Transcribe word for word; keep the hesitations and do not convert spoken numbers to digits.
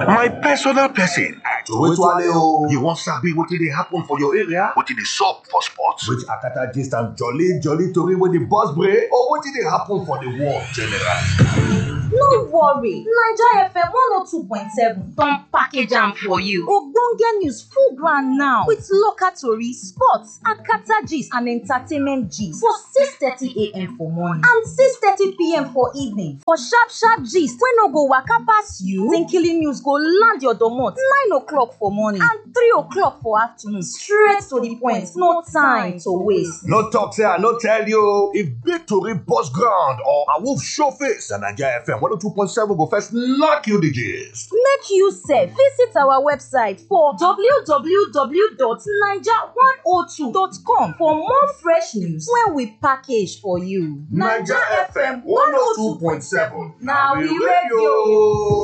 My personal person. Throway Tuale o. You wan sabi wetin dey happen for your area? Wetin dey sup for sports? Which Akata gist and jolly jolly tori wey dey burst brain, or wetin dey happen for the world generally? No worry, Naija F M one oh two point seven don package am for you. Ogbonge news full ground now with local tori, sports, Akata gist and entertainment gist for six thirty a m for morning and six thirty p m for evening for sharp sharp gist wey no go waka pass you. Tinkily news go land your domot nine o'clock for morning and three o'clock for afternoon, straight to the point, no time to waste. No talk say I no tell you. If big tori burst ground or a wolf show face, na Naija F M one oh two point seven go first knock you the gist. Make you sef visit our website for w w w dot naija one oh two dot com for more fresh news wey we package for you. Naija F M one oh two point seven, na we radio.